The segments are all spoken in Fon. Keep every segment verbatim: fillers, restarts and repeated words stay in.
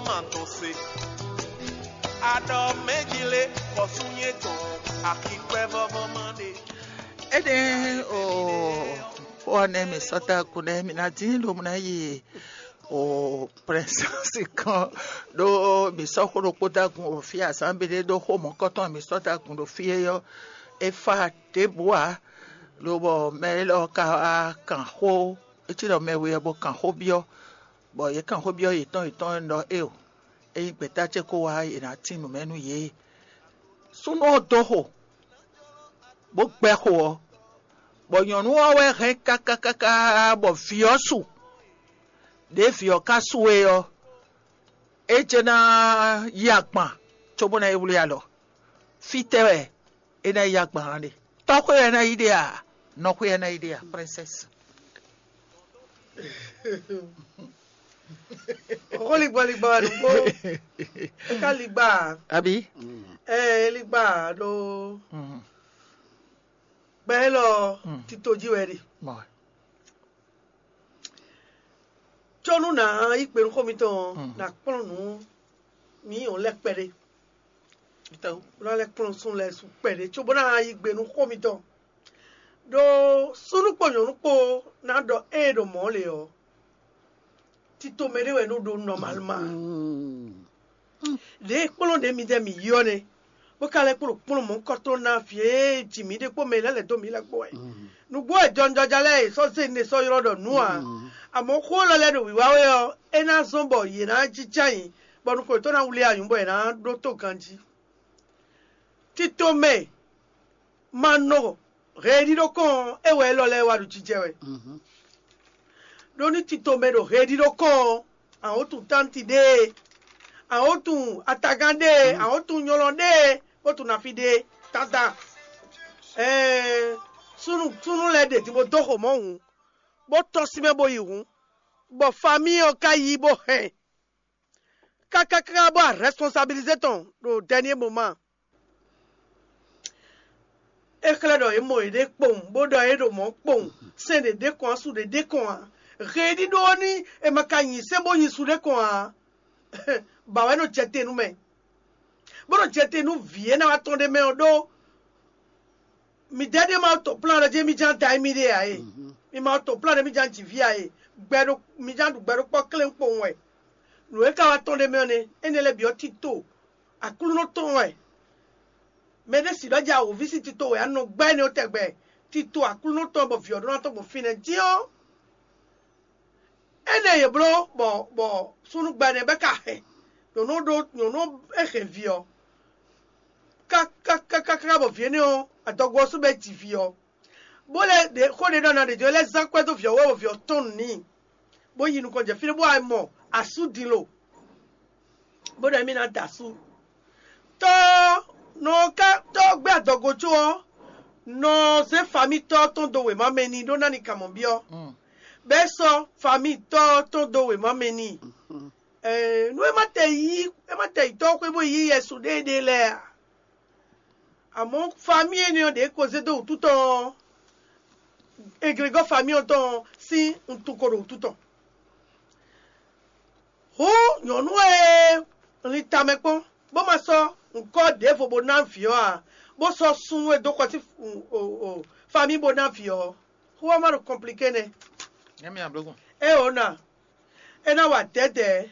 Ma tɔn se. Aɖɔ mɛjile xɔsúnyɛ tɔn akikpɛ vɔvɔ ma ɖe. Ede o xó ɔ́ nɛ́ mi sɔ́ ta kun nɛ́ mi ná dín ɖo mɔ ná yi o prɛnsɛ́si kan ɖó mi sɔ́ xó ɖokpó da gun o fí azǎn bi ɖé ɖó xó mɔ̌kɔtɔn mi sɔ́ ta gun ɖo fí é ɔ́, é fá ɖěbǔ ǎ. Lobɔ mɛ élɔ́ ka wá kan xó, é cí ɖɔ mɛ we ɔ́ bó kan xó byɔ́, bɔ yě kan xó byɔ́ yětɔn yětɔn ɖɔ éeǒ, ényí gbɛ̌ta ce ko wá, è nǎ tín nǔ mɛ nú yě. Súnnu ɔ́ dó xo, bó gbɛ́ xo ɔ́, bɔ nyɔ̌nu ɔ́ wɛ hɛn káká káká bɔ vǐ ɔ́ su. Ɖěe vǐ ɔ́ ka su é ɔ́, é jɛ́n ná yí agban cóbó ná yi wlí alɔ. Fítɛ́ wɛ é ná yi agban ɔ́ ɖe? Tɔ́xwé wɛ é ná yi ɖe a? Nɔxwé wɛ é ná yi ɖe a, princesse? Xó ligbɔ ligbɔ wɛ nǔgbó. É ka ligba. Abi? Ɛ é ligba ɖó gbɛ élɔ tito jí wɛ ɖe. Mɔ. Có nú nǎ yí gbe nú xó mitɔn ɔ́, nǎ kplɔ́n nǔ mǐ nyɔ̌nu lɛ́ɛ kpɛɖé. Nǎ lɛ́ kplɔ́n súnnu lɛ́ɛ su kpɛɖé cóbó ná yí gbe nú xó mitɔn. Ɖó súnnu kpó nyɔ̌nu kpó ná ɖɔ ée ɖo mɔ̌ lě ɔ́, tito mɛ ɖé wɛ nɔ ɖó nɔmalma. Ɖě e kplɔ́n ɖě midɛɛ mǐ yi ɔ́ nɛ́, bó ka lɛ́ kplɔ́n kplɔ́n mɔ̌hunkɔtɔn ná vǐ e ji mǐ ɖe kpó mɛ e lɛ́ lɛ̌ dó mǐ lɛ́ɛ kpó wɛ. Nǔgbó wɛ jɔnjɔja lɛ́ɛ e sɔ́ zé ne sɔ́ ylɔ́ ɖɔ nǔ ǎ. Amɔ̌ xó élɔ́ lɛ́ɛ ɖo wǐwá wɛ ɔ́, é ná zɔ́n bɔ yě ná jínjɔ́n ayǐ, bɔ nukɔn yětɔn ná wlí anyǔ bɔ yě ná ɖótó ganjí. Tito mɛ ma nɔ heɖíɖó kɔn ɔ́, é wɛ élɔ́ lɛ́ɛ wá ɖo jijɛ wɛ. Ɖó ní tito mɛ ɖo heɖíɖó kɔn ɔ́, àwọn tuntántí ɖée, àwọn tun atagán ɖée, àwọn tun nyɔlɔ ɖée, bó tun nafi ɖée tata. Ɛɛ súnnu súnnu lɛ́ɛ ɖe din bó dó xo mɔ̌ hǔn, bó tɔ́n sín mɛ bó yi hǔn, bɔ famíi ɔ́ ka yí bó hɛn kákáká bó a rɛsponsabilizé tɔn ɖo dɛniyé moma. É xlɛ́ ɖɔ yě mɔ yěɖée kpowun, bó ɖɔ yě ɖo mɔ̌ kpowun, sɛn ɖě ɖě kɔn, asú ɖě ɖě kɔn ǎ. Heɖíɖó ɔ́ ní è ma ka nyi sɛ́n bó nyi su ɖé kɔn ǎ, ba wɛ nɔ jɛ te nú mɛ, bó nɔ jɛ te nú vǐ e ná wá tɔn ɖé mɛ ɔ́ ɖó midɛɛ ɖé ma to plan ɖɔ jí mi ján da émí ɖe ǎ e. Mi ma to plan ɖɔ mi ján jǐví ǎ e. Gbɛ ɖo mi ján ɖu gbɛ ɖokpɔ klɛ́n kpowun wɛ. Nǔ e ka wá tɔn ɖé mɛ ɔ́ nɛ́, énɛ́ lɛ́ɛ bǐ ɔ́ tito Aklúnɔ tɔn wɛ. Mɛ ɖé si ɖɔ jí awǒvi sín tito wɛ á nɔ gbɛ́ énɛ́ ɔ́ tɛgbɛ. Tito Aklúnɔ tɔn bɔ vǐ ɔ́ ɖó ná tɔn gbɔn fínɛ́ dín ɔ́, énɛ́ yě bló bɔ bɔ súnnu gbɛ nɛ́ bɛ́ ka hɛn nyɔ̌nu ɖó nyɔ̌nu e hɛn vǐ ɔ́, kákákáká bɔ vǐ énɛ́ ɔ́ adɔgo ɔ́ sú bɛ́ ji vǐ ɔ́, bó lɛ́ ɖě xó ɖé ɖɔ ná ɖě jɔ lɛ́ zán kwɛ́ dó vǐ ɔ́ wú bɔ vǐ ɔ́ tɔn nǔ n'i, bó yi nukɔn jɛ fínɛ́ bó wá mɔ asú din lo, bó ɖɔ émí ná da asú. Tɔ́ nɔ ká tɔ́ gbé adɔgo có ɔ́, nɔ zé famitɔ́ tɔn dó wěma mɛ n'i ɖó ná ni kan mɔ̌ byɔ́. Bɛ́ sɔ́ famitɔ́ tɔn dó wěma mɛ n'i. Ɛɛ, nú é ma tɛ yí é ma tɛ yi tɔ́ xwé bó yí yɛsu ɖéeɖée lɛ́ɛ a? Àmọ́ famí énɛ́ ɔ́ ɖě ko zé dó wǔtu tɔn ɔ́, egregɔ́ famí ɔ́ tɔn ɔ́ sín wuntun ko ɖo wǔtu tɔn. Hǔn nyɔ̌nu e lin tamɛ kpɔ́n, bó ma sɔ́ ŋkɔ́ ɖěvo bó ná vǐ ɔ́ ǎ, bó sɔ́ súnnu e dó xɔ sín famí bó ná vǐ ɔ́, xó ɔ́ ma ɖo kɔnpliké nɛ́. Nyɛ mi ablɔgún. É ǒ na, é ná wa dɛ̌dɛ̌,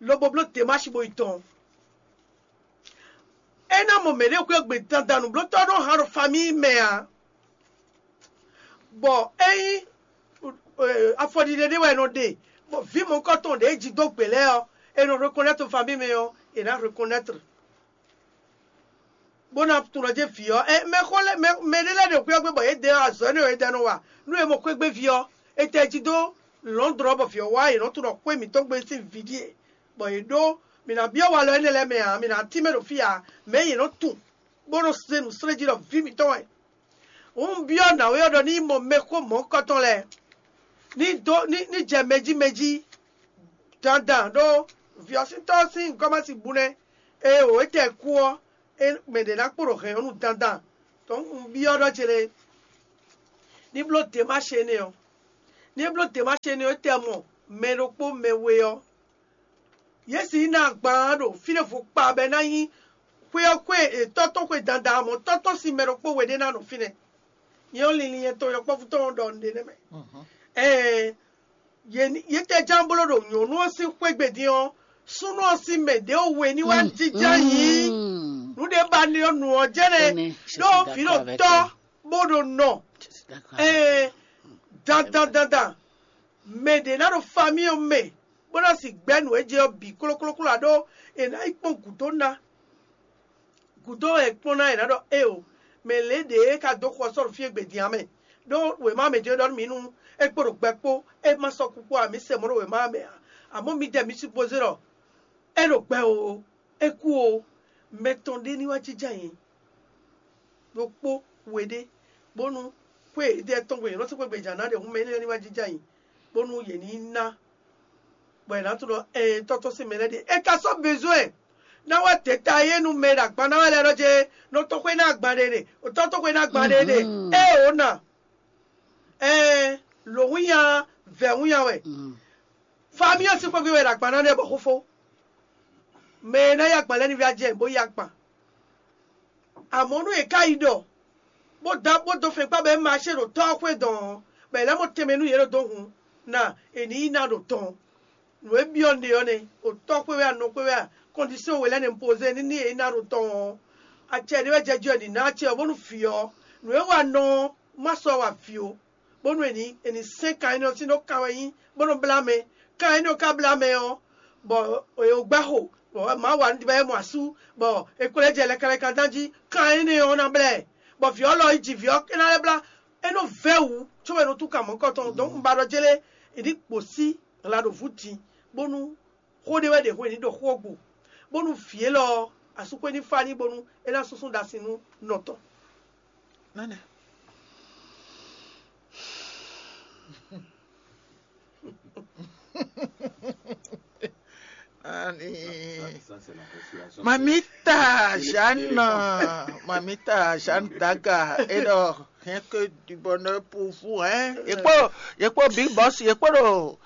lobo bló Demási bó yi tɔn. É ná mɔ mɛ̌ ɖé xwé gbe dandan nǔblótɔ́ nɔ hán ɖo famíi mɛ ǎ, bɔ ényí afɔɖiɖe ɖé wɛ è nɔ ɖe, bɔ vǐ mɔ̌hunkɔtɔn ɖě ji dó gbě lɛ́ɛ ɔ́, è nɔ reconnaître famíi mɛ ɔ́, è nǎ reconnaître. Bó ná tunɔ jɛ vǐ ɔ́, ɛ mɛ xó lɛ́ɛ mɛ mɛ ɖé lɛ́ɛ ɖe xwé ɔ́ gbé bɔ yě ɖe azɔ̌ énɛ́ e ɖe nɔ wa nú è mɔ xwé gbé vǐ ɔ́, è tɛ jí dó lɔ̌ndrɔ́ bɔ vǐ ɔ́ wá yě nɔ tunɔ xwé mǐtɔn gbe sín vǐ ɖíe, bɔ yě ɖó mǐ ná byɔ́ walɔ énɛ́ lɛ́ɛ mɛ ǎ, mǐ ná tínmɛ ɖo fí ǎ, mɛ̌ yě nɔ tun bó nɔ se nǔ slé jí ɖɔ vǐ mǐtɔn wɛ. Hǔn un byɔ́ nǎwe ɔ́ ɖɔ ní yi mɔ mɛxó mɔ̌hunkɔtɔn lɛ́ɛ ní dó ní ní jɛ mɛ jí mɛ jí dandan ɖó vǐ ɔ́ sín tɔ́ ɔ́ sín gɔ́mási bu nɛ́. Ée wǒ é tɛ kú ɔ́, é mɛ ɖě ná kpo ɖo hɛn ɔ́ nu dandan. Tɔn un byɔ́ ɖɔ ce lé ní bló Demási énɛ́ ɔ́, ní é bló Demási énɛ́ ɔ́, é tɛ mɔ mɛ ɖokpó mɛ we ɔ́, Yě si ná agban ɖo fínɛ́ vo kpa bɔ é ná nyí xwé ɔ́ xwé tɔ́tɔ́ xwe dandan, mɔ̌ tɔ́tɔ́ sín mɛ ɖokpó we ɖé ná nɔ fínɛ́. Nyɛ ɔ́, linlin nyɛtɔn yɔkpɔ́vú tɔn ɔ́ ɖɔ nǔɖé nɛ́ mɛ. Ɛɛ, yě tɛ ján bló ɖo nyɔ̌nu ɔ́ sín xwé gbe din ɔ́, súnnu ɔ́ sín mɛ ɖě we ní wá jínjɔ́n yǐ. Nǔ ɖé ba ní ɔ́, nǔ ɔ́ jɛ́nɛ ɖó vǐ ɖo tɔ́ bó ɖo nɔ. Ɛɛ, dandan dandan, mɛ ɖě ná ɖo famí ɔ́ mɛ, bó ná si gbɛ́ nǔ e jɛ ɔ́ bǐ klóklókló ǎ, ɖó è nǎ yi kpɔ́n gǔdo ná. Gǔdo e kpɔ́n ná è nǎ ɖɔ éeǒ, mɛ lě ɖě e ka dó xɔ sɔ́ ɖo fí e gbe din ǎ mɛ. Ɖó wěma mɛ jɛ́n ɖɔ nú mǐ nú é kpo ɖo gbɛ kpó, é ma sɔ́ kú kpó ǎ, mǐ sɛ mɔ̌ ɖo wěma mɛ ǎ. Amɔ̌ midɛɛ mi supozé ɖɔ é ɖo gbɛ oo, é kú oo, mɛ tɔn ɖé ní wá jínjɔ́n ayǐ. Ɖokpó we ɖé, bónú xwé e ɖe tɔn gbe yě nɔ sɔ́ xwé gbe jǎ ná ɖe hǔn mɛ énɛ́ ní wá jínjɔ́n ayǐ, bónú yě ní ná, bɔ è nǎ tunwun ɖɔ ɛɛ tɔ́tɔ́ sín mɛ lɛ́ɛ ɖe. È ka sɔ́ bezwɛ́n ná wá dě ta yé nú mɛ e ɖo agban ná wɛ lɛ́ɛ ɖɔ jɛ nɔ tɔ́ xwé ná agban ɖe ɖe, tɔ́ tɔ́ xwé ná agban ɖe ɖe. Ée ǒ ná, ɛɛ lǒ húnya vɛ̌ húnya wɛ. Fámí ɔ́ sín xwé gbe wɛ è ɖo agban ná ɖe bɔ xófó. Mɛ e ná yí agban lɛ́ɛ ní vɛ́ ajɛ bó yí agban. Amɔ̌ nú è ká yi ɖɔ, bó dó bó dó fɛn kpá bɔ é ma ṣe ɖo tɔ́ ɔ́ xwé dɔn ɔ́, bɔ è lɛ́ mɔ tɛnmɛ nú yě ɖo dó hun ná è ní yi ná ɖo tɔn. Nǔ e byɔ́ ɖe ɔ́ nɛ́, ɖo tɔ́ xwé wɛ a, nɔ xwé wɛ a, kɔndisɔn we lɛ́ɛ nɛ un pozé ní ní è yi ná ɖo tɔn ɔ́, acɛ ɖé wɛ jɛ jí ɔ́ è nǐ ná acɛ ɔ́ bónú vǐ ɔ́, nǔ e wa nɔ ɔ́, má sɔ́ wa vǐ ó, bónú è nǐ è nǐ sɛ́n kan énɛ́ ɔ́ sín ɖó kan wɛ nyí bó nɔ blá mɛ. Kan énɛ́ ɔ́ ka blá mɛ ɔ́, bɔ è wǒ gbɛ́ xo, bɔ Mawu wa nǔ ɖibá é mɔ asú, bɔ è kplɔ́ ɛ jɛ lɛkɛlɛkɛ dán jí. Kan énɛ́ ɔ́ ná blá ɛ, bɔ vǐ ɔ́ lɔ yi ji vǐ ɔ́ é ná lɛ́ blá. É nɔ vɛ́ wǔ cóbɔ è nɔ tú kan mɔ̌kɔtɔn. Donc un ba ɖɔ jélé è ní kpo sí la ɖo vǔ din, bónú xó ɖé wɛ ɖe hwenu ɖɔ xó ɔ́ gbo, bónú vǐ élɔ́ ɔ́, asúxwé ní fá ní bónú é ná súnsún ɖo asi nú nɔ tɔn. Nánɛ. Ani. Mamita Jeanne, Mamita Jeanne Daga, et donc, rien que du bonheur pour vous, hein. Et pour, et pour Big Boss, et pour le,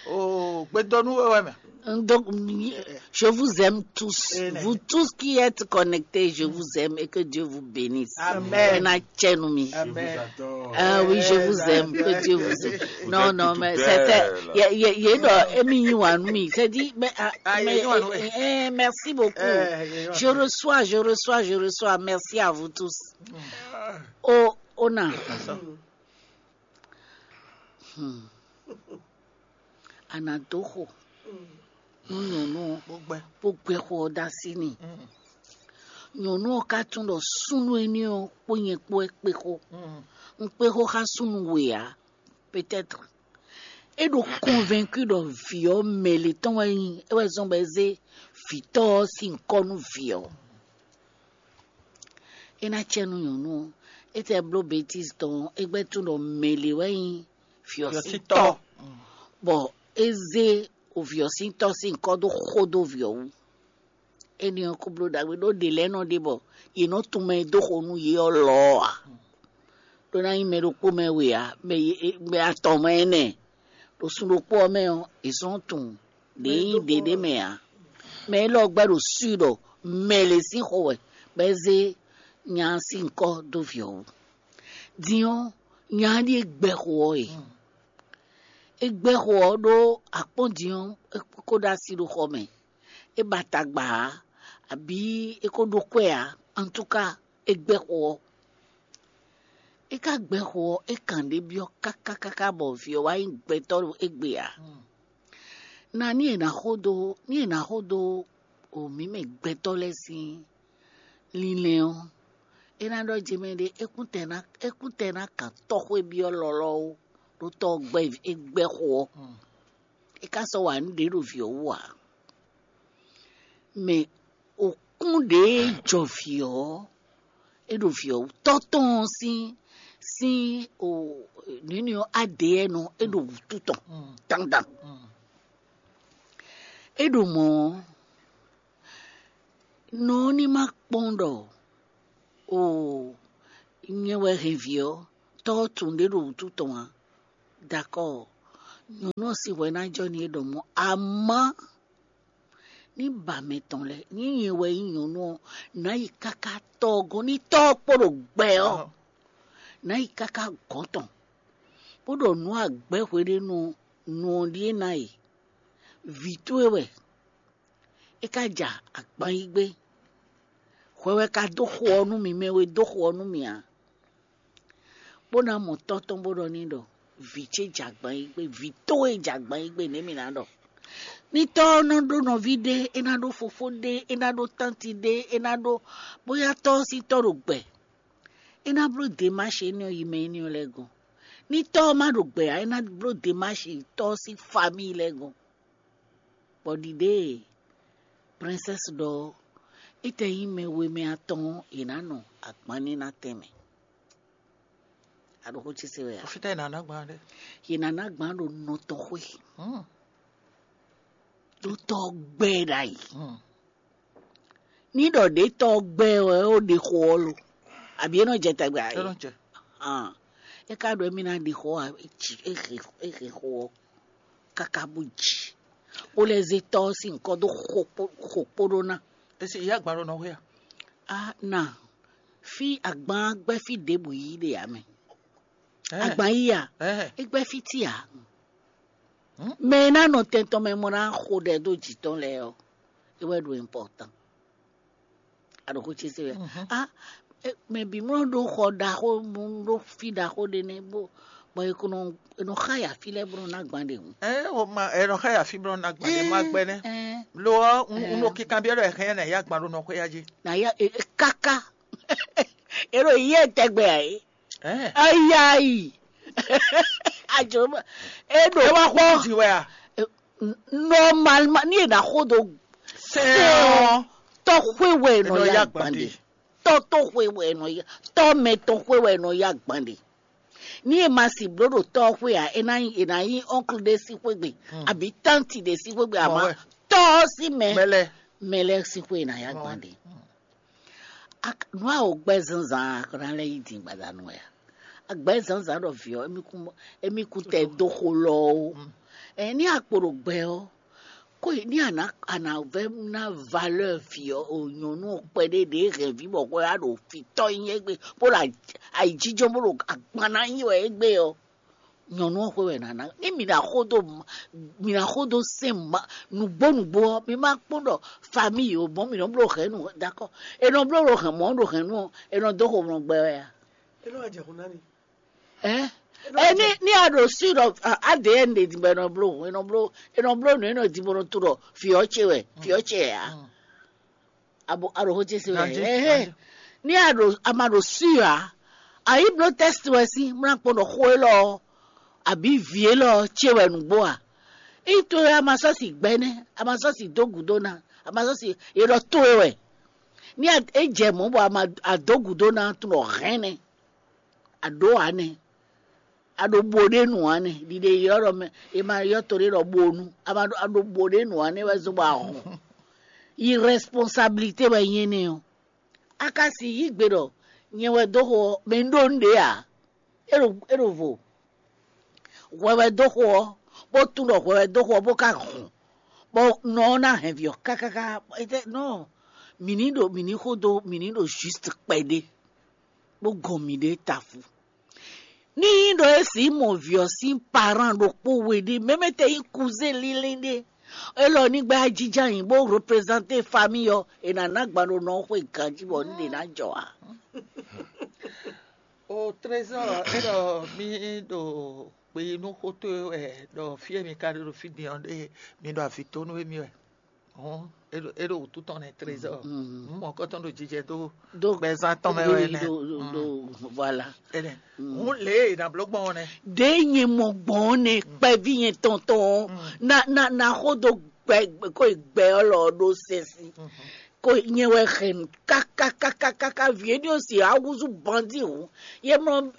au Gbedonou, ouais, mais. Donc, je vous aime tous. Vous tous qui êtes connectés, je vous aime et que Dieu vous bénisse. Amen. Ena tchenu mi. Amen. Ah oui, je vous aime, que Dieu vous aime. Non, non, mais c'était, il y a, il y a, il y a, non, Emi Iwanu mi, c'est dit, mais, ah, mais, eh, eh, merci beaucoup. Je reçois, je reçois, je reçois. Merci à vous tous. Oh, on a. Hmm. A nǎ dó xo nú nyɔ̌nu ɔ́, bó gbɛ xo ɔ́ dó así n'i. Nyɔ̌nu ɔ́ ka tunwun ɖɔ súnnu énɛ́ ɔ́ kpó nyɛ kpó wɛ kpé xó. Un kpé xó xá súnnu we ǎ, peut-être. É ɖo convaincu ɖɔ vǐ ɔ́ mɛ lě tɔn wɛ nyí, é wɛ zɔ́n bɔ é zé vǐtɔ́ ɔ́ sín nyǐkɔ nú vǐ ɔ́. É ná cɛ nú nyɔ̌nu ɔ́, é tɛ bló bêtízi tɔn ɔ́, é gbɛ́ tunwun ɖɔ mɛ lě wɛ nyí vǐ ɔ́ sín tɔ́, bɔ é zé vǐ ɔ́ sín tɔ́ sín nyǐkɔ dó xo dó vǐ ɔ́ wú. Énɛ́ ɔ́, kó bló ɖagbe ɖó ɖě lɛ́ɛ nɔ ɖe bɔ yě nɔ tunwun mɛ e dó xo nú yě ɔ́ lɔ ɔ́ ǎ. Ɖó ná nyí mɛ ɖokpó mɛ we ǎ, mɛ e- e- mɛ atɔn mɛ énɛ́. Ɖo sun ɖokpó ɔ́ mɛ ɔ́, è sɔ́ tunwun ɖě nyí ɖě ɖé mɛ ǎ. Mɛ élɔ́ gbɛ́ ɖo sui ɖɔ mɛ lě sín xo wɛ, bɔ é zé nya ɔ́ sín nyǐkɔ dó vǐ ɔ́ wú. Din ɔ́, nya ɔ́ ɖíe gbɛ́ xo ɔ́ e. É gbɛ́ xo ɔ́ ɖó akpɔ́n din ɔ́, é kó ɖó asi ɖo xɔ mɛ. É ba tagba ǎ, abǐ é ko ɖó kwɛ́ ǎ. Antúka, é gbɛ́ xo ɔ́. É ka gbɛ́ xo ɔ́, é kan ɖě byɔ́ káká káká bɔ vǐ ɔ́ wá nyí gbɛtɔ́ ɖo égbé ǎ. Na ní è nǎ xo dó ní è nǎ xo dó o mǐ mɛ gbɛtɔ́ lɛ́ɛ sín linlɛn ɔ́, é ná ɖɔ jɛ mɛ ɖé é kún tɛ ná é kún tɛ ná kan tɔ́xwé byɔ́ lɔlɔ́ ó, ɖó tɔ́ ɔ́ gbɛ́ é gbɛ́ xo ɔ́. É ka sɔ́ wa nǔ ɖě ɖo vǐ ɔ́ wú ǎ. Mɛ òkún ɖě jɔ vǐ ɔ́, é ɖo vǐ ɔ́ wú. Tɔ́ tɔn ɔ́ sín sín o nǔnyi ɔ́ adě ɛnɔ é ɖo wǔtu tɔn dandan. É ɖo mɔ̌ ɔ́, nɔ ɔ́ ní ma kpɔ́n ɖɔ o nyɛ wɛ hɛn vǐ ɔ́, tɔ́ ɔ́ tunwun ɖě ɖo wǔtu tɔn ǎ. Dakɔ́, nyɔ̌nu ɔ́ sín hwɛ ná jɔ n'i é ɖɔ mɔ̌, amɔ̌ Ní ba mɛ tɔn lɛ́ɛ, ní nyɛ wɛ nyí nyɔ̌nu ɔ́, nǎ yi káká tɔ́ ɔ́ gɔ́n, ní tɔ́ ɔ́ kpo ɖo gbɛ ɔ́, nǎ yi káká gɔ̌n tɔn, bó ɖɔ nǔ agbɛ́ hweɖénu ɔ́, nǔ ɔ́ ɖíe ná e. Vǐ towe wɛ, é ka ja agban yí gbé. Hwɛ wɛ ka dó xo ɔ́ nú mì, mɛ we dó xo ɔ́ nú mì ǎ. Bó ná mɔ tɔ́ tɔn bó ɖɔ n'i ɖɔ: "Vǐ ce jɛ agban yí gbé, vǐ towe jɛ agban yí gbé, nɛ̌ mì ná ɖɔ?" Ní tɔ́ ɔ́ nɔ ɖó nɔví ɖé, é ná ɖó fofó ɖé, é ná ɖó tánti ɖé, é ná ɖó, bóyá tɔ́ ɔ́ sín tɔ́ ɖo gbɛ, é ná bló demáshi énɛ́ ɔ́ yi mɛ énɛ́ ɔ́ lɛ́ɛ gɔ́n. Ní tɔ́ ɔ́ má ɖo gbɛ ǎ, é ná bló demáshi tɔ́ ɔ́ sín famíi lɛ́ɛ gɔ́n. Bɔ ɖiɖée e Princesse ɖɔ ɔ́, é tɛ nyí mɛ we mɛ atɔn ɔ́, yě ná nɔ agban ní ná tɛnmɛ. A ɖo xó ce se wɛ a? Fítɛ́ è nǎ ná gbɔn ɖe? Yě ná ná gbɔn ɖo nɔ tɔn xwé, ɖó tɔ́ gbɛ́ ɖ'ayǐ. Ní ɖɔ ɖě tɔ́ gbɛ́ wɛ ó ɖe xo ɔ́ lo, abǐ é nɔ jɛ tɛgbɛ a? É nɔ jɛ. Hàn, é ka ɖɔ émí ná ɖe xo ɔ́, é ci é xe é xe xo ɔ́ káká bó ji, bó lɛ́ zé tɔ́ ɔ́ sín nyǐkɔ dó xo kpó xo kpó ɖó ná. É sì yá gban ɖo nɔ xwé a? A na fí agban gbɛ́ fí ɖěbǔ yí ɖe ǎ mɛ. Agban yí a? É gbɛ́ fí tí ǎ. Mɛ e ná nɔ tɛn tɔn mɛ mɔ ná xo ɖɛ dó jǐ tɔn lɛ́ɛ ɔ́, é wɛ ɖo important. A ɖo xó ce se wɛ. A mɛ bǐ mlɔ́ ɖó xɔ ɖaxó, ɖó fí ɖaxó ɖé nɛ́ bó bɔ è ko nɔ è nɔ xá ya fí lɛ́ɛ bó nɔ ná gban ɖe hǔn. Ɛ o ma ɛ nɔ xá ya fí bó nɔ ná gban ɖe ma gbɛ nɛ́. Lo ɔ́, un ɖo kinkanbyɔ́ ɖɔ ɛ hɛn nɛ ya gban ɖo nɔ xwé ya jí. Na ya káká é ɖo yɛ tɛgbɛ ǎ é. Ayayi. Ajoma. E ɖo ẹ wá xɔ di wɛ a? Normalement, ni e na xo do sɛn ɔ, tɔxwe wɛ e nɔ ya gbande. Tɔ tɔxwe wɛ e nɔ ya, tɔ mɛ tɔxwe wɛ e nɔ ya gbande. Ni e ma si blo ɖo tɔxwe a, e na yi e na yi oncle ɖe si xwegbe abi tanti ɖe si xwegbe ama tɔ si mɛ mɛ lɛ si xwe e na ya gbande. Nǔ a wǒ gbɛ́ zǎnzǎn a, kɔ ná lɛ́ yí din gbadanu wɛ a? A gbɛ́ zǎnzǎn ɖɔ vǐ ɔ́, émí kú tɛ dó xo lɔ ó. Ɛn ní a kpo ɖo gbɛ ɔ́, kó ní a nǎ a nǎ vɛ́ ná valeur vǐ ɔ́ o nyɔ̌nu ɔ́ kpɛɖé ɖě hɛn vǐ bɔ xwɛ á ɖo fǐtɔ́ nyi égbé, bó ɖo ayǐjínjɔ́n bó ɖo agban ná nyi wɛ égbé ɔ́. Nyɔ̌nu ɔ́ xwe wɛ nǎ ná. Ní mǐ ná xo dó mǐ ná xo dó sɛn nǔgbó nǔgbó ɔ́, mi ma kpɔ́n ɖɔ famille o mɔ̌ mǐ nɔ bló hɛ̌nnu dakɔ. È nɔ bló ɖo hɛ̌n mɔ̌ ɖo hɛ̌nnu ɔ́, è nɔ dó xo mlɔ gbɛ wɛ a? É nɔ wá jɛ xo ná mi. Ɛ ɛ ní ní a ɖo sú ɖɔ adn ɖe din bɔ è nɔ bló è nɔ bló è nɔ bló nǔ è nɔ din bɔ è nɔ to ɖɔ fiɔ ce wɛ fiɔ ce wɛ a? Abo a ɖo xó ce se wɛ. Ɛhɛn. Ní a ɖo a ma ɖo sûr a, a yi bló tɛ́st wɛ sín mlá kpɔ́n ɖɔ xó élɔ́ ɔ́ abǐ vǐ élɔ́ ɔ́ ce wɛ nǔgbó a? Ító é a ma sɔ́ si gbɛ́ nɛ́, a ma sɔ́ si dó gǔdo ná, a ma sɔ́ si è ɖɔ towe wɛ. Ní a é jɛ mɔ̌ bɔ a ma a dó gǔdo ná tunwun ɖɔ hɛn nɛ́, a ɖǒ ǎ nɛ́. A ɖo bo ɖé nu ǎ nɛ́, ɖiɖe ylɔ́ ɖɔ mɛ è ma ylɔ́ to ɖé ɖɔ bonu, a ma ɖo a ɖo bo ɖé nu ǎ nɛ́ wɛ zɔ́n bɔ a hɔn. Yi responsabilité wɛ nyí énɛ́ ɔ́. A ka si yí gbe ɖɔ nyɛ wɛ dó xo ɔ́, mɛ un ɖó un ɖě ǎ. É ɖo é ɖo vo. Hwɛ wɛ dó xo ɔ́, bó tún ɖɔ hwɛ wɛ dó xo ɔ́, bó ka hɔn, bɔ nɔ ɔ́ ná hɛn vǐ ɔ́ kákáká. Étɛ́ nɔ mǐ ní ɖo mǐ ní xo dó mǐ ní ɖo juste kpɛɖé, bó gɔn mǐɖée tafu. Ní nyí ɖɔ é sǐ mɔ vǐ ɔ́ sín parán ɖokpó we ɖé, mɛmɛ tɛ nyí kuzé línlín ɖé, élɔ́ ní gbɛ́ ajijá nyi bó reprezanté famille ɔ́, è nǎ ná gban ɖo nɔ ɔ́ xwe ganjí bɔ ní ɖě ná jɔ ǎ. O trésor, é ɖɔ mí ɖo kpe nú xó towe wɛ ɖɔ fí e mi ka ɖe ɖo fí din ɔ́ ɖe mi ɖo avǐ tó nú émí wɛ. Hɔn é ɖo é ɖo wǔtu tɔn nɛ trésor. Mɔ kɔtɔn ɖo jijɛ dó dó gbɛzán tɔn mɛ wɛ nɛ. Voilà. Hɔn lě e nǎ bló gbɔn ɔ́ nɛ. Ɖě nyɛ mɔ gbɔn ɔ́ nɛ kpɛví nyɛ tɔntɔn na na na xó dó gbɛ kó gbɛ ɔ́ lɔ ɖó sɛsi. Ko nyɛ wɛ hɛn kakakakaka vǐ éní ɔ́ si awúzú bandi hǔn. Yé mlɔ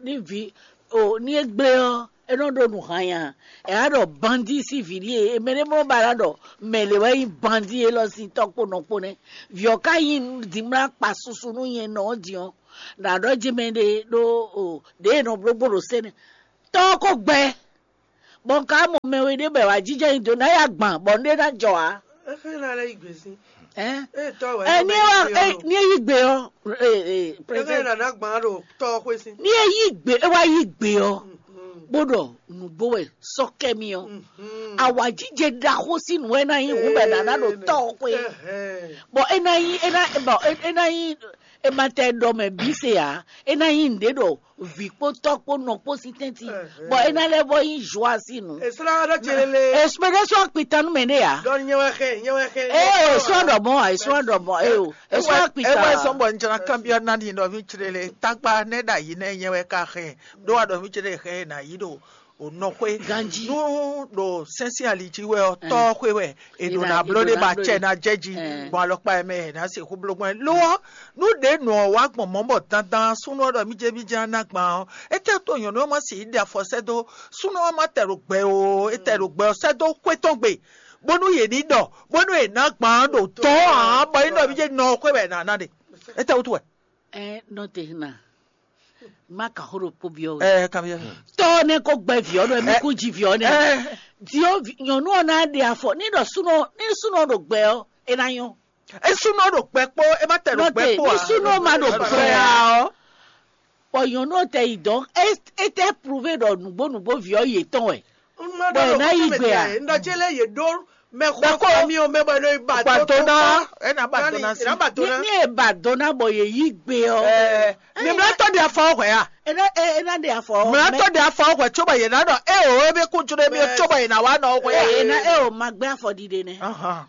ní vǐ o ní é gblé ɔ́, é nɔ ɖo nǔ hanya. Ɛ á ɖɔ bandi sín vǐ ɖíe, mɛ ɖé mlɔ ba ná ɖɔ mɛ lě wɛ nyí bandi élɔ́ sín tɔ́ kpó nɔ kpó nɛ́. Vǐ ɔ́ ka nyí dǐmlá kpa susu nú nyɛ nɔ ɔ́ din ɔ́, nǎ ɖɔ jí mɛ ɖé ɖó o ɖě e nɔ bló gbó ɖo sɛ́ nɛ́. Tɔ́ ɔ́ ko gbɛ, bɔ un ka mɔ mɛ we ɖé bɔ è wǎ jínjɔ́n nyi do ná ya gban bɔ un ɖé ná jɔ ǎ. Ehe na lɛ yi gbe sin. Ɛn? E tɔ wɛ. Ɛ ní e wá ɛ ní e yí gbe ɔ ɛ ɛ Ehe president na na gban ɖo tɔ xwe sin. Ní e yí gbe é wá yí gbe ɔ bó ɖɔ nǔgbó wɛ sɔkɛmi ɔ awǎjijɛ ɖaxó sín nǔ wɛ ná nyí hǔn bɛ nǎ ná ɖo tɔ xwe bɔn é ná nyí é ná bɔn é ná nyí ematɛ ɖɔ mɛ bí se ǎ é ná nyí nǔɖé ɖɔ vǐ kpó tɔ́ kpó nɔ kpó sín tɛ́ntin bɔn é ná lɛ́ vɔ nyí joa sín nǔ. Esra ɖɔ tse lele. Espéɖé sɔ́ akpitanu mɛ ɖé ǎ. Dɔn nyɛ wɛ xɛ nyɛ wɛ xɛ. Ee sɔ́ ɖɔ mɔ ǎ sɔ́ ɖɔ mɔ ee o sɔ́ Ewa akpitanu. sɔn bɔ n jana kanbyɔ nani ɖɔ mí tsre le tagba ne ɖa yi ne nyɛ wɛ ka xɛ ɖo wa ɖɔ mí tsre xɛ na yi ɖo o nɔ xwe Ganji. Nu ɖo sɛnsin ali jí wɛ ɔ tɔ xwe wɛ e ɖo Ina- na blo e ɖe ɖo ba na blo tsɛ ɖe. na jɛ ji Eh. bɔn alɔkpa yɛ mɛ na se xu blo gbɔn lo ɔ nu ɖe nɔ wa gbɔn mɔ bɔ dandan sunu ɔ ɖɔ mí jɛ mí jɛ na gban ɔ ete to nyɔnu ɔ ma si yi ɖe afɔ sɛ do sunu ɔ ma tɛ ɖo gbɛ o e tɛ ɖo gbɛ ɔ sɛ do xwe tɔn gbe bónú yě ní ɖɔ bónú yě ná gban ɖo tɔ hàn bɔ yín ɖɔ mí jɛ nɔ xwe wɛ na na ɖe ete wutu wɛ. Ɛ nɔ te na ma ka xó ɖo kpó biɔ wɛ. Ɛ kan biɛ. Tɔ ne ko gbɛ viɔ nɔ mi ko ji viɔ nɛ. Ɛ Diɔ nyɔnu ɔ na ɖe afɔ ni ɖɔ sunɔ ni sunɔ ɖo gbɛ ɔ e na nyɔ. Esunɔ ɖo gbɛ kpó e ma tɛ ɖo Nɔ gbɛ te kpó ni a. sunɔ ma ɖo gbɛ a. Gbɛ a ɔ. Bɔn nyɔnu ɔ tɛ yi dɔn e e tɛ prouve ɖɔ nugbo nugbo viɔ yetɔn wɛ. Bɔn Bɔn ná yi gbe a? Ndɔ tse lɛ yě ɖó mɛ Mɛ xɔ xɔ. Fami o mɛ bɔ ɖo ba Ba tó dona kpɔ́. Ena ba dona si. Ena ba Ní dona. ní e ba dona bɔ yě yí gbe ɔ. Ɛ mi mlɛ tɔ di afɔ hwɛ a. Ena ena de afɔ. Mlɛ tɔ di afɔ hwɛ tso bɔ yɛ na dɔ e o e bɛ ku juro mi tso bɔ yɛ na wa nɔ hwɛ a. Ena e o ma gbɛ afɔ ɖiɖe nɛ. Ahan.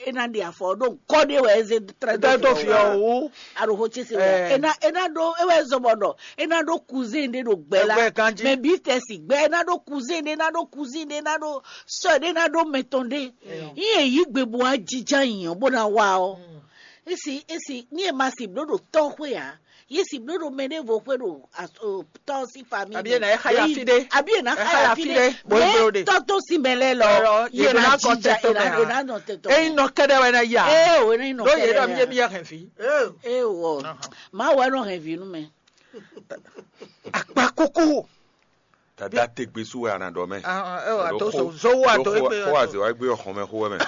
Ena de afɔ ɖo nkɔ de wɛ eze trɛ Tɛ do fi ɔ wu. Aɖo xo tsese wɛ. Ɛ. Ena ena ɖo ewɛ zɔbɔ ɖɔ ena ɖo cousin ɖe ɖo gbɛ la. Ɛgbɛ ganji. Mɛ bi tɛ si gbɛ ena ɖo cousin ɖe ena ɖo cousin ɖe ena ɖo sœur ɖe ena ɖo mɛtɔn ɖe. Yi e yi gbe bo ajija yiyan bo na wa ɔ. Esi esi ni e ma si blo ɖo tɔ xwe a. Ye si blo ɖo mɛ ɖe vo xwe ɖo as- o, tɔ si famille. Abi e na e xa ya fi ɖe. Abi e na E xa ya fi ɖe. Bo blo ɖe. Tɔtɔ si mɛ lɛ lɔ. Lɔ, Ye na jija tɛtɔ ye na mɛ a. ye na nɔ tɛtɔ. Eyin nɔ kɛɖɛ wɛ na ya. Ee o ne nɔ Do ye dɔ mi ye kɛlɛ. mi ya hɛn fi. Ee. Ee wɔ. Ma wɛ nɔ hɛn vi nu mɛ. Akpa koko. Dada te gbe su wɛ ana dɔ mɛ. Ah, ah, eh, wa to so- so wa to egbe Xɔ aze wa gbe xɔmɛ xɔ mɛ.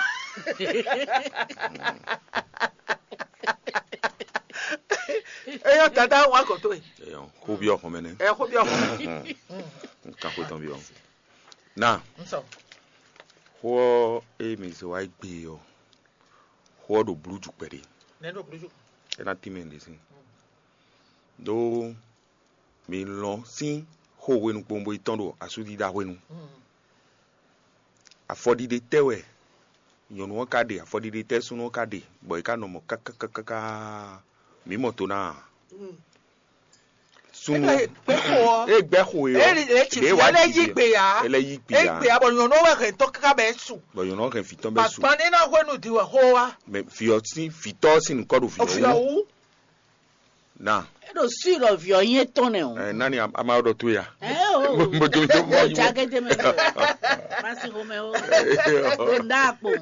Eyɔ dada wa kɔ to ye. Eyɔn, xo bi xɔmɛ nɛ. Ɛ ko bi ɔkɔ. Nkan xo tɔn bi ɔ. Na N sɔ. xɔ e mi se wa gbe ɔ. Xɔ ɖo blu ju kpɛɖe. Ne ɖo kuluju. Ena ti mɛ ɖe si. Do mi lɔn sín xó hwenu kpowun bo yi tɔn ɖo asúdídá hwenu. Afɔɖiɖe tɛ́ wɛ nyɔ̌nu ɔ́ ka ɖe, afɔɖiɖe tɛ́ súnnu ɔ́ ka ɖe, bɔ è ka nɔ mɔ kákákáká. Mǐ mɔ to ná a? Súnnu Ebe gbɛ xo ɔ. E gbɛ xo e Eri le tsi ɖe fi wá ɔ lɛ dzi yi ɖe. gbe ya. Ele yi gbe E ya. Gbe ya bɔ nyɔnu wɛ hɛn tɔ kaka bɛ su. Bɔ nyɔnu ɔ́ hɛn vǐ tɔn bɛ su. Papa ne na hwenu di wɛ xo wa. Mɛ vǐ ɔ́ sín vǐ tɔ́ ɔ́ sín nukɔ ɖo vǐ Ofi ɔ́ wú. ɔwu. Na E ɖo sui ɖɔ vi ɔ nyɛ tɔn nɛ o. ɛ nani ama ɔ́ ɖɔ to ya. Ɛ o. Mo jo mi jo mo Yóò yi já wo. Gédé mɛ lọ. Masi xomɛ o. O da kpo.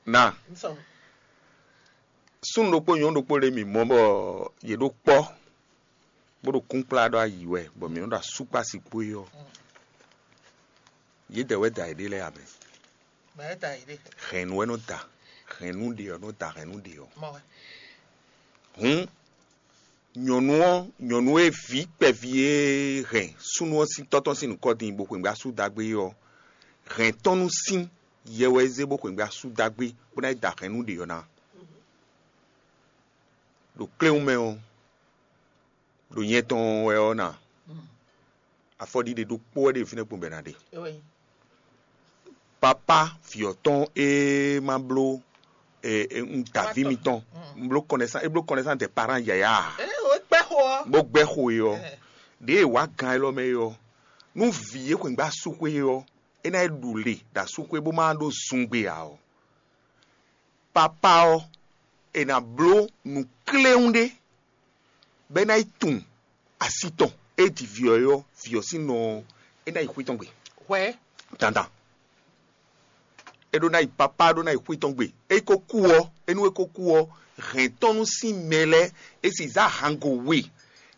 Na N sɔ. súnnu ɖokpó nyɔ̌nu ɖokpó ɖe mi mɔ bɔ yě ɖo kpɔ́ bó ɖo kúnkplá ɖɔ ayi wɛ bɔ mǐ nɔ ɖo asúkpá si kpó é ɔ́. Yědɛɛ wɛ da yěɖée lɛ́ɛ amɛ. Mɛ ta yi ɖe. Hɛ̌nnu wɛ nɔ da, hɛ̌nnu ɖe ɔ́ nɔ da hɛ̌nnu ɖe ɔ́. Mɔ wɛ. Hǔn nyɔ̌nu ɔ́, nyɔ̌nu e vǐ kpɛví e hɛn súnnu ɔ́ sín tɔ́ tɔn sín nǔkɔ din bó xweyǐgbe asú dagbe é ɔ́, hɛn tɔ́ nú sín yɛ wɛ é zé bó xweyǐgbe asú dagbe bó ná yi da hɛ̌nnu ɖě ɔ́ ná. Ɖo kléwún mɛ ɔ́, ɖo nyɛ tɔn wɛ ɔ́ ná. Afɔɖiɖe ɖokpó wɛ ɖe fínɛ́ kpɔ́n bɔ è nǎ ɖe. Ewe. Papa vǐ ɔ́ tɔn e ma bló e e un da vǐ mitɔn un bló connaissance e bló connaissance des parents yaya Ee o kpɛ xo ɔ. bó gbɛ́ xo e ɔ́ ɖě e wǎ gan élɔ́ mɛ é ɔ́ nú vǐ e xweyǐgbe asúxwé é ɔ́ é ná yi ɖu le ɖo asúxwé bó má ɖó zungbe ǎ ɔ́ papa ɔ́ è nǎ bló nǔ kléwún ɖé bɔ é ná yi tunwun asi tɔn e ji vǐ ɔ́ é ɔ́ vǐ ɔ́ sín nɔ ɔ́ é ná yi xwé tɔn gbe Hwɛ. dandan. É ɖó ná yi papá ɖó ná yi xwé tɔn gbe. É ko kú ɔ́, é nú é ko kú ɔ́, hɛn tɔn nú sín mɛ lɛ́ɛ, é sì zá hango we.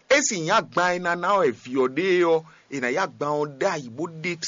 É sì nyí agban e ná ná wɛ vǐ ɔ́ ɖe é ɔ́, è nǎ yí agban ɔ́ ɖ'ayǐ bó ɖe